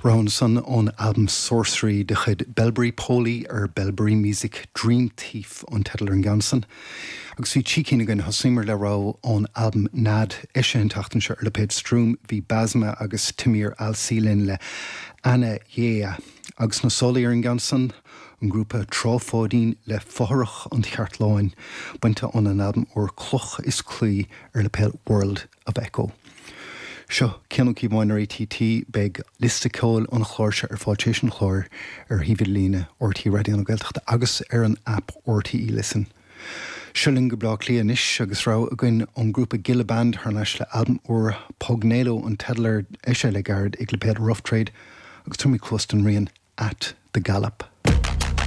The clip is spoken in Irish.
Rogha ansan ón albam Sorcery de chuid Belbury Poly ar Belbury Music, Dream Thief an teideal ar an gceann san. Agus bhí trí cinn againn, thosaíomar le rogha ón albam Nead, eisithe an tseachtain seo ar lipéad Strúm, bhí Basma agus Tamir Al-Si linn le Ana Yea. Agus na sólaí ar an gceann san, an grúpa Trá Pháidín le Fothrach an Cheartláin, bainte óna n-albam úr Cloch is Claí ar lipéad World of Echo. Seo Cian Ó Cíobháin ar ATT. Beidh liosta ceoil an chláir seo ar fáil tar éis an chláir ar shuíomh idirlíne RTÉ Raidió na Gaeltachta agus ar an aip RTÉ Listen. Seo linn go Bleá Cliath anois agus rogha againn ón ngrúpa Gilla Band thar n-ais le albam úr Pugnelo an teideal air, eisithe le gairid ag lipéad Rough Trade agus tabharfaimid cluas don rian At the Gallop.